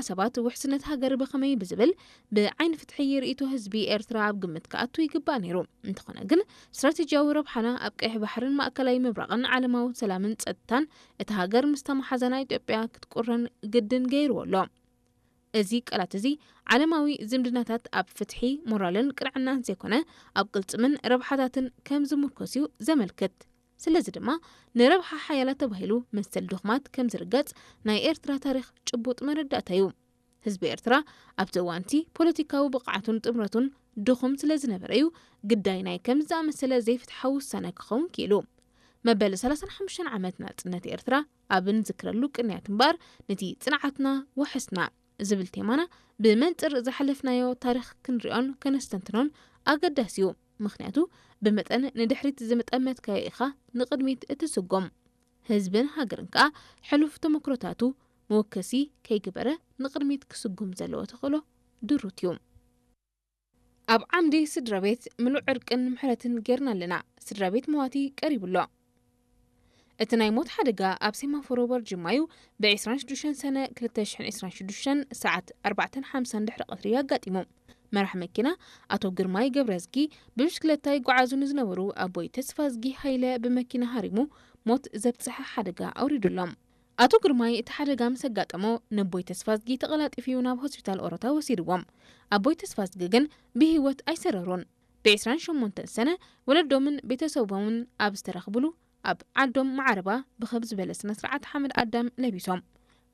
ሰባት ውሕስነት ሃገር ብኸመይ ብዝብል ብዓይኒ ፍትሒ ርእይቶ ህዝቢ ኤርትራ ኣብ ግምት ክኣቱ ይግባእ ነይሩ። እንተኾነ ግን ስትራቴጂያዊ ረብሓና ኣብ ቀይሕ ባሕርን ማእከላይ ምብራቕን ዓለማዊ ሰላምን ጸጥታን እታ ሃገር ምስ ተመሓዘና ኢትዮጵያ ክትቁረን ግድን ገይርዎ ኣሎ። እዚ ቃላት እዚ ዓለማዊ ዝምድናታት ኣብ ፍትሒ፣ ሞራልን ቅንዕናን ዘይኮነ ኣብ ቅልጽምን ረብሓታትን ከም ዝምርኮስ እዩ ዘመልክት። ስለዚ ድማ ንረብሓ ሓያላት ተባሂሉ መሰል ድኹማት ከም ዝርገጽ ናይ ኤርትራ ታሪኽ ጭቡጥ መረዳእታ እዩ። ህዝቢ ኤርትራ ኣብቲ እዋንቲ ፖለቲካዊ ብቕዓቱን ጥምረቱን ድኹም ስለ ዝነበረ እዩ ግዳይ ናይ ከምዚ ዝኣመሰለ ዘይፍትሓዊ ውሳነ ክኸውን ክኢሉ። መበል ሰላሳን ሓሙሽተን ዓመት ናጽነት ኤርትራ ኣብ እንዝክረሉ ቅንያት እምበኣር ነቲ ጽንዓትና ወሐስና ዝብል ቴማና ብመንጽር ዝሓለፍናዮ ታሪኽ ክንሪኦን ከነስተንትኖን ኣገዳሲ እዩ። ምኽንያቱ ብመጠን ንድሕሪት ዝምጠመትካዮ ኢኻ ንቕድሚት እትስጎም። ህዝብን ሃገርን ከኣ ሕሉፍ ተመክሮታቱ መወከሲ ከይግበረ ንቕድሚት ክስጉም ዘለዎ ተኽእሎ ድሩት እዩ። ኣብ ዓምዲ ስድራ ቤት ምሉእ ዕርቅን ምሕረትን ጌርና ኣለና። ስድራ ቤት መዋቲ ቀሪቡ ኣሎ። እቲ ናይ ሞት ሓደጋ ኣብ ሴማፎሮ በርጅማዩ ብ ዕስራን ሽዱሽተን ሰነ ክልተ ሽሕን ዕስራን ሽዱሽተን ሰዓት ኣርባዕተን ሓምሳን ድሕሪ ቀትሪ ኣጋጢሙ። መራሕ መኪና ኣቶ ግርማይ ገብረዝጊ ብብሽክለታ ይጓዓዙ ንዝነበሩ ኣቦይ ተስፋዝጊ ሃይለ ብመኪና ሃሪሙ ሞት ዘብጽሐ ሓደጋ ኣውሪዱሎም። ኣቶ ግርማይ እቲ ሓደጋ ምስ ኣጋጠሞ ነቦይ ተስፋዝጊ ተቐላጢፉ ናብ ሆስፒታል ኦሮታ ወሲድዎም። ኣቦይ ተስፋዝጊ ግን ብህይወት ኣይሰረሩን። ብ ዕስራን ሸሞንተን ሰነ ወለዶምን ቤተሰቦምን ኣብ ዝተረኽብሉ ኣብ ዓዶም ማዓረባ ብኸብ ዝበለ ስነ ስርዓት ሓመድ ኣዳም ለቢሶም።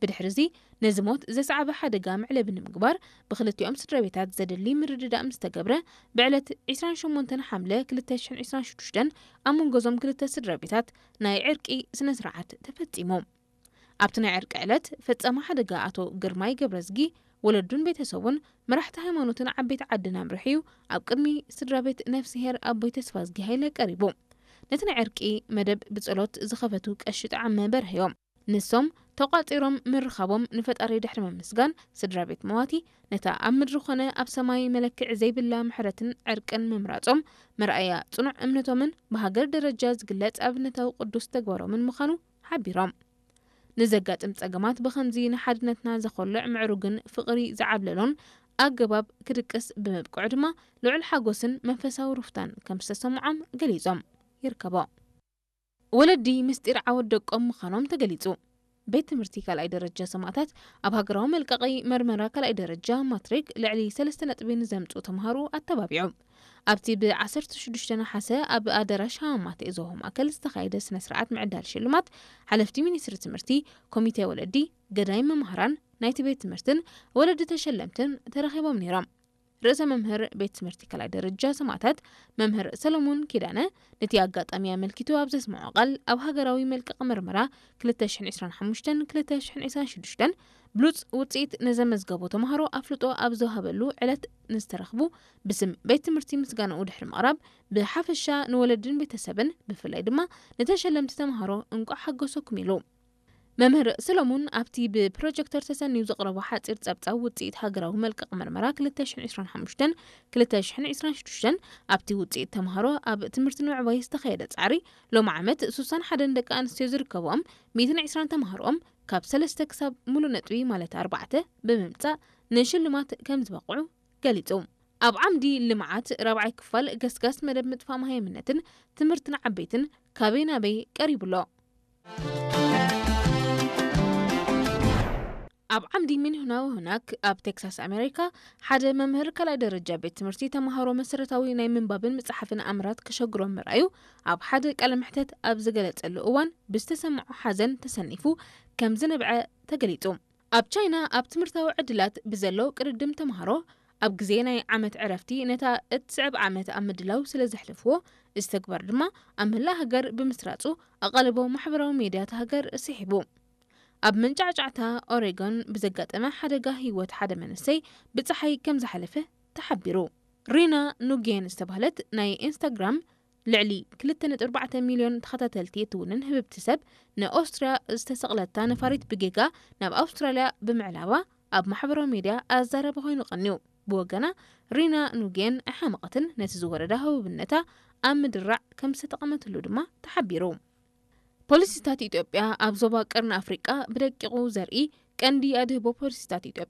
ብድሕሪ እዚ ነዚ ሞት ዘስዓበ ሓደጋ መዕለቢ ንምግባር ብክልቲኦም ስድራ ቤታት ዘድሊ ምርድዳእ ምስ ተገብረ ብዕለት ዕስራን ሸሞንተን ሓምለ ክልተ ሽሕን ዕስራን ሽዱሽተን ኣብ መንጎዞም ክልተ ስድራ ቤታት ናይ ዕርቂ ስነ ስርዓት ተፈጺሙ። ኣብቲ ናይ ዕርቂ ዕለት ፈጻሚ ሓደጋ ኣቶ ግርማይ ገብረዝጊ ወለዱን ቤተሰቡን መራሕቲ ሃይማኖትን ዓበይቲ ዓድን ኣምሪሑ እዩ ኣብ ቅድሚ ስድራ ቤት ነፍስሄር ኣቦይ ተስፋዝጊ ሃይለ ቀሪቡ። ነቲ ናይ ዕርቂ መደብ ብጸሎት ዝኸፈቱ ቀሺ ጠዓመ በርሀዮም። ንሶም ተቋጺሮም ምርኻቦም ንፈጣሪ ድሕሪ ምምስጋን ስድራ ቤት መዋቲ ነታ ኣብ ምድሪ ኾነ ኣብ ሰማይ መለክዒ ዘይብላ ምሕረትን ዕርቅን ምምራጾም መርኣያ ጽኑዕ እምነቶምን ብሃገር ደረጃ ዝግለጽ ኣብነታዊ ቅዱስ ተግባሮምን ምዃኑ ሓቢሮም። ንዘጋጥም ጸገማት ብኸምዚ ንሓድነትና ዘኾልዕ ምዕሩግን ፍቕሪ ዝዓብለሎን ኣገባብ ክድቅስ ብምብቅዑ ድማ ልዑል ሓጎስን መንፈሳዊ ሩፍታን ከም ዝተሰምዖም ገሊጾም ይርከቦ። ወለዲ ምስጢር ዓወት ደቆም ምዃኖም ተገሊጹ። ቤት ትምህርቲ ካልኣይ ደረጃ ሰማእታት ኣብ ሃገራዊ መልቀቒ መርመራ ካልኣይ ደረጃ ማትሪክ ልዕሊ ሰለስተ ነጥቢ ንዘምጽኡ ተምሃሮ ኣተባቢዑ። ኣብቲ ብ ዓሰርተ ሽዱሽተ ነሓሰ ኣብ ኣዳራሽ ሃማማተ ዞሆ ማእከል ዝተኻየደ ስነ ስርዓት ምዕዳል ሽልማት ሓለፍቲ ሚኒስትሪ ትምህርቲ፣ ኮሚቴ ወለዲ፣ ገዳይ መምሃራን ናይቲ ቤት ትምህርትን ወለዲ ተሸለምትን ተረኺቦም ነይሮም። ርእሰ መምህር ቤት ትምህርቲ ካልኣይ ደረጃ ሰማእታት መምህር ሰለሞን ኪዳነ ነቲ ኣጋጣሚ ኣመልኪቱ ኣብ ዘስምዖ ቃል ኣብ ሃገራዊ መልቀቕ መርመራ ክልተ ሽሕን ዕስራን ሓሙሽተን ክልተ ሽሕን ዕስራን ሽዱሽተን ብሉጽ ውጽኢት ንዘመዝገቡ ተምሃሮ ኣፍልጦ ኣብ ዝወሃበሉ ዕለት ንዝተረኽቡ ብስም ቤት ትምህርቲ ምስጋናኡ ድሕሪ ምቕራብ ብሓፈሻ ንወለድን ቤተሰብን ብፍላይ ድማ ንተሸለምቲ ተምሃሮ እንቋዕ ሓጎሰኩም ኢሉ። መምህር ሰሎሙን ኣብቲ ብፕሮጀክተር ተሰንዩ ዘቕረቦ ሓጺር ጸብጻብ ውጽኢት ሃገራዊ መልቀቕ መርመራ ክልተ ሽሕን ዕስራን ሓሙሽተን ክልተ ሽሕን ዕስራን ሽዱሽተን ኣብቲ ውጽኢት ተምሃሮ ኣብ ትምህርቲ ንምዕባይ ዝተኻየደ ጻዕሪ ሎም ዓመት ሱሳን ሓደን ደቂ ኣንስትዮ ዝርከብኦም ሚእትን ዕስራን ተምሃሮኦም ካብ ሰለስተ ክሳብ ሙሉእ ነጥቢ ማለት ኣርባዕተ ብምምጻእ ንሽልማት ከም ዝበቕዑ ገሊጹ። ኣብ ዓምዲ ልምዓት ራብዓይ ክፋል ገስጋስ መደብ ምጥፋእ መሃይምነትን ትምህርቲ ንዓበይትን ካበይ ናበይ ቀሪቡ ኣሎ። ኣብ ዓምዲ ሚንሁናዊ ሁናክ ኣብ ቴክሳስ ኣሜሪካ ሓደ መምህር ካልኣይ ደረጃ ቤት ትምህርቲ ተምሃሮ መሰረታዊ ናይ ምንባብን ምጽሓፍን ኣምራት ከሸግሮም ምርኣዩ ኣብ ሓደ ቃለ መሕተት ኣብ ዝገለጸሉ እዋን ብዝተሰምዖ ሓዘን ተሰኒፉ ከም ዝነብዐ ተገሊጹ። ኣብ ቻይና ኣብ ትምህርታዊ ዕድላት ብዘሎ ቅድድም ተምሃሮ ኣብ ግዜ ናይ ዓመት ዕረፍቲ ነታ እትስዕብ ዓመት ኣብ ምድላው ስለ ዘሕለፍዎ እዚ ተግባር ድማ ኣብ መላእ ሃገር ብምስራጹ ኣቓልቦ ማሕበራዊ ሜድያ እታ ሃገር ስሒቡ። ኣብ መንጫዕጫዕታ ኦሬጎን ብዘጋጠመ ሓደጋ ህይወት ሓደ መንእሰይ ብጸሓይ ከም ዝሓለፈ ተሓቢሩ። ሪና ኑጌን ዝተባህለት ናይ ኢንስታግራም ልዕሊ ክልተ ነጥቢ ኣርባዕተ ሚልዮን ተኸታተልቲ እትውንን ህብብቲ ሰብ ንኦስትርያ ዝተሰቕለታ ነፋሪት ብጌጋ ናብ ኣውስትራልያ ብምዕላባ ኣብ ማሕበራዊ ሜድያ ኣዛራቢ ኮይኑ ቀንዩ። ብወገና ሪና ኑጌን ኣይሓመቐትን፣ ነቲ ዝወረዳ ህቡብነታ ኣብ ምድራዕ ከም ዝተጠቐመትሉ ድማ ተሓቢሩ። ፖሊሲታት ኢትዮጵያ ኣብ ዞባ ቀርኒ ኣፍሪቃ ብደቂቑ ዘርኢ ቀንዲ ኣድህቦ ፖሊሲታት ኢትዮጵያ